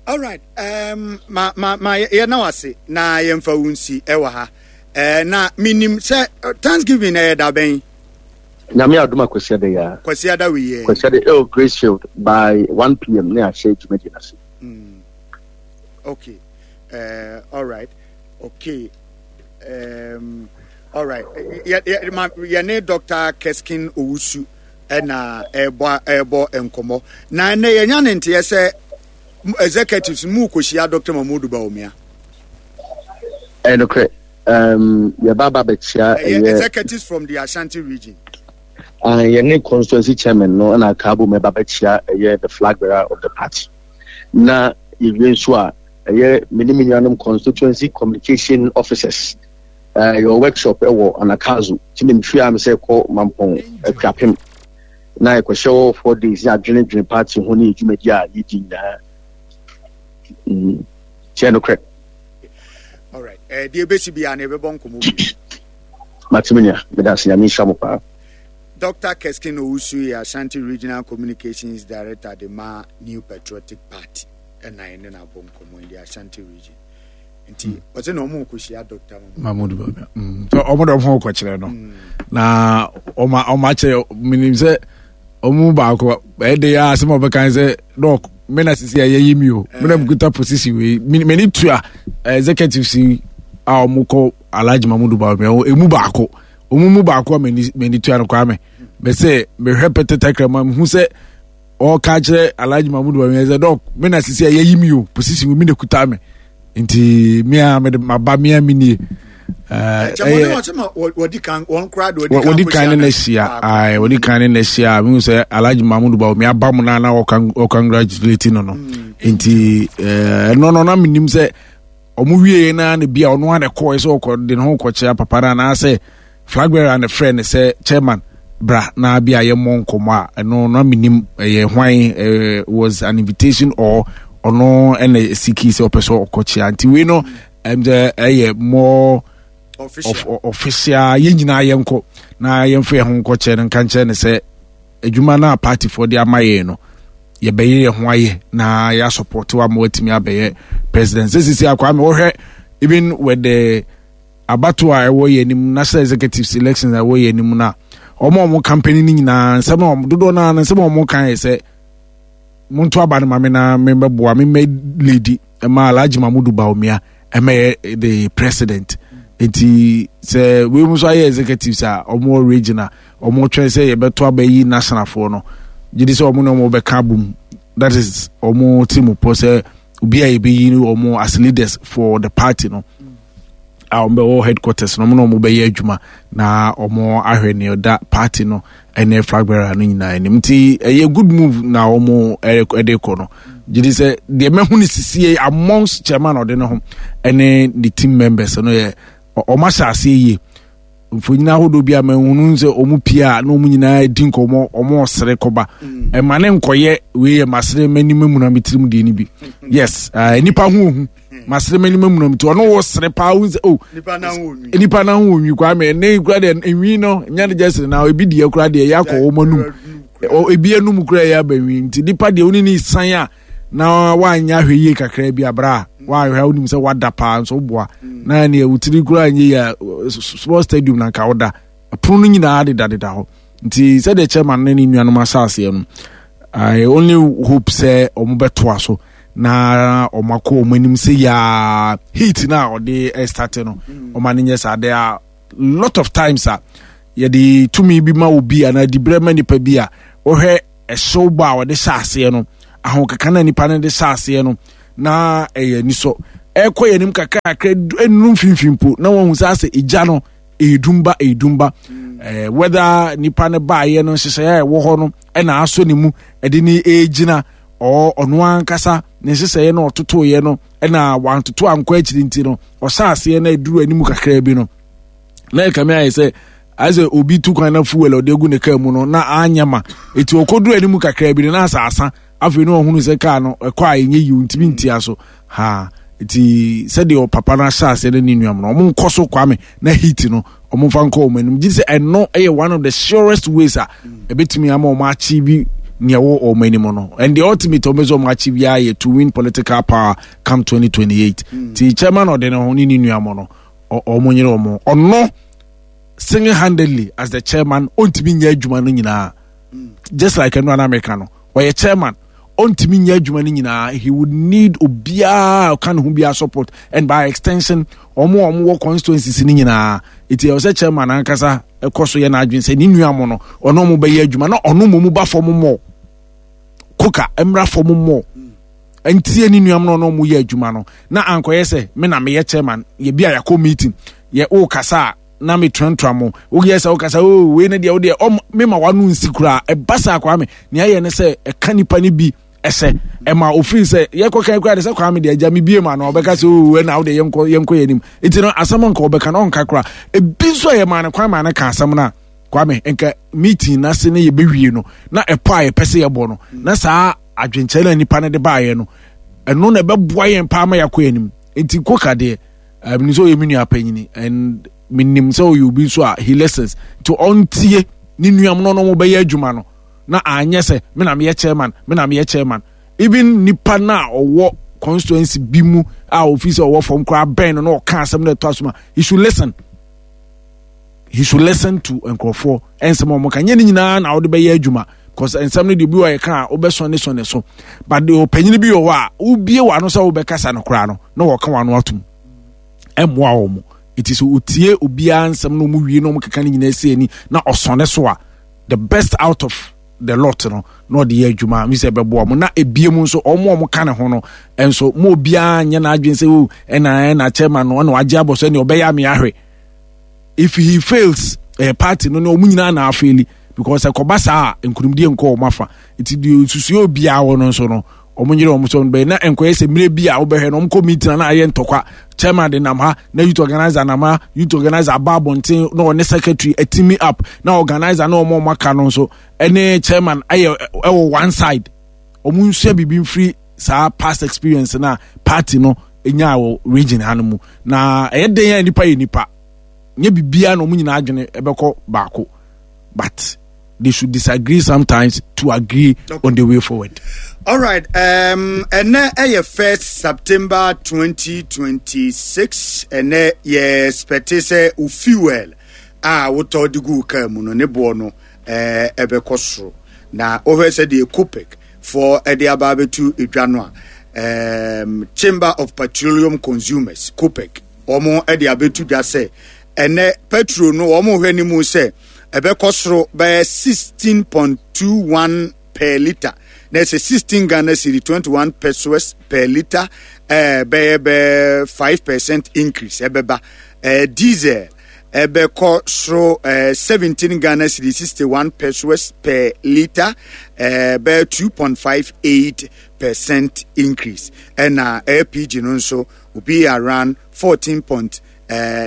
All right. Um, ma ma ma yɛ na wase na yɛmfa wo nsi ɛwɔ ha. Eh, na minim sɛ Thanksgiving ɛyɛ da bɛn? Nyame adom a Kwasiada yi ara. Kwasiada wei yɛ. Kwasiada ɛwɔ Gracefield by one p m na yɛahyɛ dwumadie no ase. Mm. Okay. Uh, all right. Okay. Um, all right. Yɛne Doctor Keskin Owusu ɛna ɛbɔ ɛbɔ nkɔmmɔ. Na ɛnɛ yɛnya ne nteɛ sɛ executives mu kɔhyia Doctor Mahamudu Bawumia. Ɛnokorɛ. Um, yɛba ba bɛkyia ɛyɛ executives from the Ashanti region. Uh, yɛne constituency chairman no ɛna aka abom ɛba bɛkyia ɛyɛ the flag bearer of the party. Na yɛwie nso a ɛyɛ me ne me nuanom constituency communication officers. Uh, your workshop ɛwɔ Anakazo. Nti na mefiri a me sɛ kɔ Mampɔn Akuapem. Na yɛkɔhyɛ hɔ four days ne adwenedwene party ho ne dwumadi a yɛdi nyinaa. Mm. Kyɛ nokorɛ. All right. Eh, deɛ ɛbɛsi biara no yɛbɛbɔ nkɔmmɔ bio. Mate me nua, meda ase, Nyame nhyira mo paa. Doctor Keskin Owusu yɛ Ashanti Regional Communications Director de ma New Patriotic Party ɛna ɛne no abɔ nkɔmmɔ in the Ashanti region. Nti ɔsɛ na ɔmo kɔhyia Doctor Mahmoud Bawumia. Mm. So ɔmo de ɔmo ho kɔkyerɛ no. Na ɔmo ɔmo akyerɛ menim sɛ ɔmo baako ɛde ya asɛm a ɔbɛka sɛ dɔk me na sisi a yɛyi mi o me na mekuta position wei m'ani tua executives yi a ɔmo kɔ Alhaji Mahmoud Bawumia emu baako ɔmo mu baako a m'ani m'ani tua no Kwame mɛsɛ mehwɛ pɛtɛ takrama mehu sɛ ɔka kyerɛ Alhaji Mahmoud Bawumia sɛ dɔk me na sisi a yɛyi mi o position wei me na kuta me nti me a mede maba me a me nie. Wɔdi kan ne n'ahyia ayi wɔdi kan ne n'ahyia mi sɛ Alhaji Mahmoud Bawumia aba mu na na ɔcongratulate no no nti ɛno no na mi nim sɛ ɔmo wie na na bi a ɔno ana kɔɔ sɛ ɔkɔ de ne ho kɔkyea papa no anaasɛ flag bearer na frɛ ne sɛ chairman bra na bi a yɛmmɔ nkɔmmɔ a ɛno na mi nim ɛyɛ hwan ɛɛ was an invitation or ɔno ɛna siki sɛ ɔpɛ sɛ ɔkɔkyea nti wei no ɛm sɛ ɛyɛ more official official yɛn nyinaa yɛnkɔ na yɛmfa yɛn ho nkɔkyɛ no nka nkyerɛ no sɛ adwuma no a partyfoɔ de ama yɛn no yɛbɛyɛ yɛn ho ayɛ na yɛasupɔte wa ma watumi abɛyɛ president. Sɛ sisi akwa me wɔhwɛ even with the abato a ɛwɔ yɛn anim national executive elections a ɛwɔ yɛn anim no a wɔn a wɔn campaign no nyinaa nsɛm a wɔn dodoɔ no ara nsɛm a wɔn kan yɛ sɛ monto aba no ma me na mebɛboa me mɛ lady ma Alhaji Mahmoud Bawumia ɛmɛyɛ the president. Nti sɛ wei mu nso ayɛ executives a wɔn wɔ region a wɔn twɛn sɛ yɛbɛto aba yi nationalfoɔ no gye di sɛ wɔn ne wɔn bɛka abom. That is wɔn ti mu pɔ sɛ obi a yɛbɛyi wɔn as leaders for the party no a wɔn bɛwɔ headquarters no wɔn na wɔn bɛyɛ adwuma na wɔn ahwɛ nea ɔda party no ɛne flag bearer no nyinaa anim. Nti ɛyɛ good move na wɔn ɛde kɔ no gye di sɛ deɛ mɛhu ne sisi amongst chairman ɔde ne ho ɛne ne team members no yɛ wɔn ahyɛ aseɛ yie. Mfonyin ahodoɔ bi a mɛhunu sɛ wɔn pie a na wɔn nyinaa di nkɔmɔ wɔn ɔsere kɔba ɛma ne nkɔyɛ wei yɛ masere m'anim amuna me tirim deɛ no bi. Yes, uh, nipa ho ohu masere m'anim amuna me ti ɔno wɔ sere paa wo sɛ oh nipa na ho onwi kwa me ne kura deɛ enwi no nya ne gyesere na ebi deɛ kura deɛ yɛ akɔ wɔn anum ebi anum kura yɛ aba nwi nti nipa deɛ oni ne san a na wanya ahwɛ yie kakra bi abra wahwɛ a wonim sɛ wada paa nso woboa na ne wotiri kura nyɛ yɛ sports stadium na nka woda pono no nyinaa dedadeda hɔ. Nti sɛdeɛ chairman ne ne nuanom ahyɛ no I only hope sɛ ɔmo bɛtoa so na ɔmo akɔ ɔmo anim sɛ yaa heat na ɔde start no ɔmo ani nyɛ saa. There are lot of times a Yɛde tumi bi ma obi anaa dibrɛ ma nipa bi a wɔhwɛ ɛhyew bɔ a wɔde hyɛ aseɛ no, ahokeka na nipa no de hyɛ aseɛ no, na ɛyɛ anisɔ. Ɛkɔ yɛn anim kakrakra nnuru mfimfini mpo na wɔn sɛ asɛ egya no ɛyɛ ɛyɛ dumba. ɛɛ whether nipa no baayɛ no, nhyehyɛeɛ a ɛwɔ hɔ no ɛna asɔ ne mu ɛde ne ɛgyina, ɔɔ ɔno ankasa ne nhyehyɛeɛ no ɔtotoeɛ no ɛna wantoto ankɔ akyiri, nti no ɔhyɛ aseɛ na ɛduru anim kakra bi no na ɛkame ayɛ sɛ ayɛ sɛ obi tu kwan na fuel a ɔde agu ne kaa mu no na anyɛ ma eti ɔkɔduru anim kakra bi no na asa asa. Afei no ɔhunu sɛ kaa no ɛkɔ a ɛnyɛ yiw, ntumi ntia so ha. Nti sɛdeɛ ɔpapa no ahyɛ aseɛ no ne nuam no, ɔmo nkɔ so, Kwame, na heat no ɔmo mfa nkɔ ɔmo anim gye sɛ ɛno ɛyɛ one of the surest ways a ɛbɛtumi ama ɔmo achieve nea ɛwɔ ɔmo anim no. And the ultimate ɔmo sɛ ɔmo achieve yɛ to win political power come twenty twenty-eight. Ti chairman ɔde ne ho ne ne nuam no, ɔmo nyere ɔmo, ɔno single handedly as the chairman ɔntumi nyɛ adwuma no nyinaa. Just like ɛno anamika no, ɔyɛ chairman, ɔntumi nyɛ adwuma no nyinaa. He would need obiara ɔka ne ho biara support, and by extension ɔmo a ɔmo wɔ constituencies no nyinaa. Eti ɛwɔ sɛ chairman ankasa ɛkɔ so yɛ n'adwene sɛ ne nua mo no, ɔno ɔmo bɛyɛ adwuma na ɔno mo mu ba fam mɔ koka mmra fam mɔ ntie ne nua mo no, ɔno ɔmo yɛ adwuma no na ankɔyɛ sɛ me na meyɛ chairman. Yɛ bi a yɛakɔ meeting, yɛ ɔɔkasa a na metuatua mo, woyɛ sɛ wokasa o, wei ne deɛ wodeɛ ɔm mema wano nsi koraa. Ɛba saa, Kwame, nea ɛyɛ ne sɛ ɛka nipa no bi ɛsɛ ɛma ofiri sɛ yɛkɔ kan koraa de sɛ Kwame deɛ agya me bie ma no, ɔbɛka sɛ o, ɛna wode yɛnkɔ yɛnkɔ yɛ anim. Nti no asɛm nka ɔbɛka no ɔnka koraa. Ebi nso a yɛmaa no kwan maa no ka asɛm no a, Kwame, nka meeting n'ase ne yɛbɛwie no na ɛpɔ a yɛpɛ sɛ yɛbɔ no na saa adwenkyerɛ na nipa no de baayɛ no, ɛno na ɛbɛboa yɛn paa ma yɛakɔ yɛn anim. Nti koka deɛ, ɛmi sɛ ɔyɛ me nua panyini and menim sɛ ɔyɛ obi nso a he listens, nti ɔntie ne nuam no no bɛyɛ adwuma no na anyɛ sɛ me na meyɛ chairman, me na meyɛ chairman. Even nipa na ɔwɔ constituency bi mu a ofi sɛ ɔwɔ fam koraa bɛn no na ɔka asɛm no ɛtɔ aso ma, he should listen he should listen to nkurɔfoɔ ɛnsɛm a wɔn ka. Nyɛ ne nyinaa na wɔde bɛyɛ adwuma, because nsɛm no deɛ obi wɔ yɛ ka a wobɛsɔn ne sɔn ne so, but deɛ ɔpanyin bi wɔ hɔ a wobie w'ano sɛ wobɛkasa no koraa no na wɔka w'ano atum, ɛmmoa wɔn. Nti sɛ otie obiara nsɛm na wɔn wie na wɔn keka ne nyinaa si ani na ɔsɔne so a, the best out of the lot no na ɔde yɛ adwuma mi sɛ ɛbɛboa mo. Na ebie mu nso, ɔmo a ɔmo ka ne ho no nso, mo obiara nyɛ n'adwene sɛ o, ɛna ɛna chairman no ɛna wagye abɔ so ɛna ɔbɛyɛ ame ahwɛ. If he fails, ɛyɛ party no ne ɔmo nyinaa na afail, because ɛkɔba saa a nkunimdie nkɔ ɔmo afa. Nti deɛ nsusuo obiara wɔ no nso no, ɔmo nyere ɔmo so bɛyɛ na nkɔyɛ sɛ mmerɛ bi a wobɛhwɛ no, ɔmo kɔ meeting na ayɛ ntɔkwa, chairman de nam ha na youth organizer nam ha, youth organizer aba abɔnten na ɔne secretary atimi up, na organizer na ɔmo ɔmo aka no nso ɛne chairman ayɛ ɛwɔ one side. Ɔmo nsua biribi mfiri saa past experience na party no nya wɔ region ha no mu. Na ɛyɛ den a nipa yɛ nipa, nyɛ biribiara na ɔmo nyinaa adwene ɛbɛkɔ baako, but they should disagree sometimes to agree, okay, on the way forward. All right. Um, ɛnɛ ɛyɛ first September twenty twenty-six. Ɛnɛ yɛ expect sɛ o fuel a wotɔ de gu kaa mu no ne boɔ no ɛɛ ɛbɛkɔ soro. Na wohwɛ sɛ deɛ COPEC foɔ ɛde aba abɛtu edwa no a, um, Chamber of Petroleum Consumers, COPEC, wɔn ɛde abɛtu dwa sɛ ɛnɛ petrol no wɔn hwɛ ne mu sɛ ɛbɛkɔ soro bɛyɛ sixteen point two one per litre, na ɛsɛ sixteen Ghana cedi twenty one pesewas per litre, ɛɛ bɛyɛ bɛyɛ five percent increase ɛbɛba. ɛɛ diesel ɛbɛkɔ soro ɛɛ seventeen Ghana cedi sixty one pesewas per litre, ɛɛ bɛyɛ two point five eight percent increase. Ɛna L P G no nso will be around fourteen point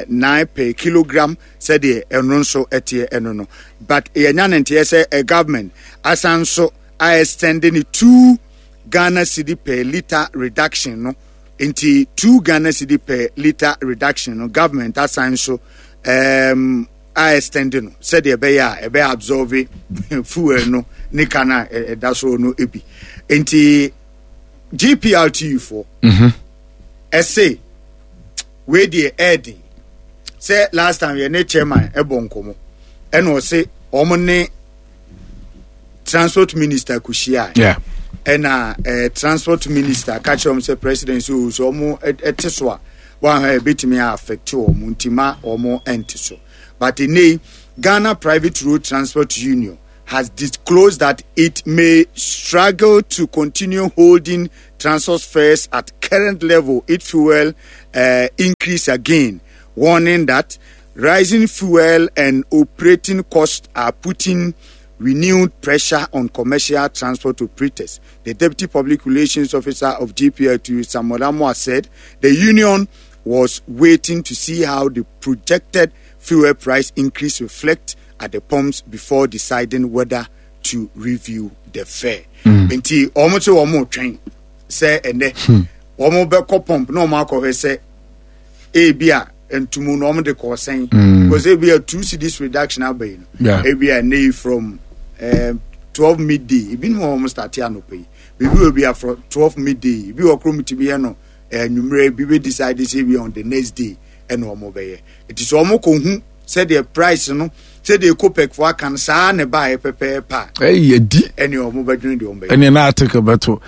nine per kilogram, sɛdeɛ ɛno nso ɛteɛ ɛno no. But yɛnya ne nteɛ sɛ ɛ government asan nso a extend ne two Ghana cedi per litre reduction no. Nti two Ghana cedi per litre reduction no, government asan nso um, a extend no sɛdeɛ ɛbɛyɛ a ɛbɛyɛ absorb fuel no ne ka no a ɛda so no ebi. Nti G P R T U foɔ ɛse wei deɛ ɛɛden sɛ last time yɛ ne chairman ɛbɔ nkɔmɔ, ɛna ɔse wɔn ne transport minister kɔhyia. Yeah. Ɛna eh, transport minister ka kyerɛ wɔn sɛ president so so wɔn ɛte so a Wɔn a ebetumi affect wɔn nti ma wɔn ɛnte so. But ne Ghana Private Road Transport Union has disclosed that it may struggle to continue holding transport fares at current level if fuel uh, increase again, warning that rising fuel and operating costs are putting renewed pressure on commercial transport operators. The Deputy Public Relations Officer of G P L T U, Samuel Amoah, said the union was waiting to see how the projected fuel price increase reflect at the pumps before deciding whether to review the fare. Nti wɔn sɛ wɔn retwɛn sɛ ɛnɛ wɔn bɛkɔ pump na wɔn akɔhwɛ sɛ ebi a ntumu na wɔn de kɔɔ sɛn, because ebi a two cedis reduction aba yi no, Yeah. ebi a ɛnɛ yi from um, twelve midday, ebi ni wɔn start anɔpɛ yi, biribi wɔ bi a from twelve midday, ebi wɔ kurom ti bi yɛ no ɛnumere bi bɛ decide sɛ ebi on the next day ɛna wɔn bɛyɛ. Eti sɛ wɔn kɔ hu sɛdeɛ price no, sɛdeɛ COPEC fo aka no saa ne ba yɛ pɛpɛɛpɛ a, ɛyɛ di. Ɛne wɔn bɛdwene deɛ wɔn bɛyɛ. Ɛne na article bɛto.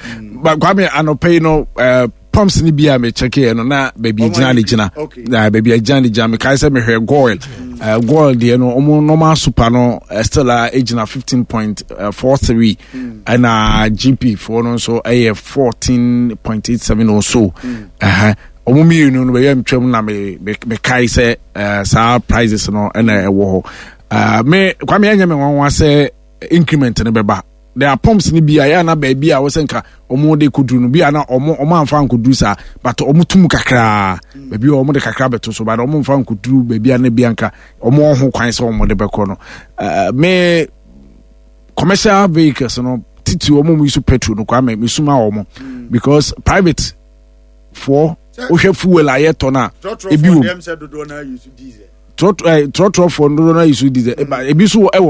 But Kwame, anɔpɛ yi no, uh, pumps ni bi a mekyɛkeɛ no na baabi Ɔmo gyina ne ayɛ gyina. Okay. Na baabi a gyina ne gyina, mekae sɛ mehwɛ Goil, uh, Goil deɛ no, ɔmo normal super no uh, still a ɛgyina fifteen point four three, ɛna G P foɔ no nso ɛyɛ fourteen point eight seven or so. Ɛhɛ, ɔmo mmienu no bɛyɛ ntwam na me me mekae sɛ uh, saa prices no ɛna ɛwɔ hɔ. uh, me Kwame, ɛnyɛ me nwanwa sɛ increment no bɛba. There are pumps ni bi a yɛ ana baabi a wɔsɛ nka ɔmo de koduru no bi a na ɔmo ɔmo anfa nkoduru saa, but ɔmo tum kakraa baabi a ɔmo de kakra bɛto so, but ɔmo nfa nkoduru baabi a na bi anka ɔmo ɔho kwan sɛ ɔmo de bɛkɔ no. ɛɛ me commercial vehicles no titi ɔmo mu use petrol no, Kwame, me suma ɔmo, because private foɔ, wohwɛ fuel a yɛtɔ no a, ebi wɔ mu. Trɔtrɔ Trɔtrɔ ɛɛ trɔtrɔfoɔ dodoɔ no use diesel, ebi nso wɔ ɛwɔ.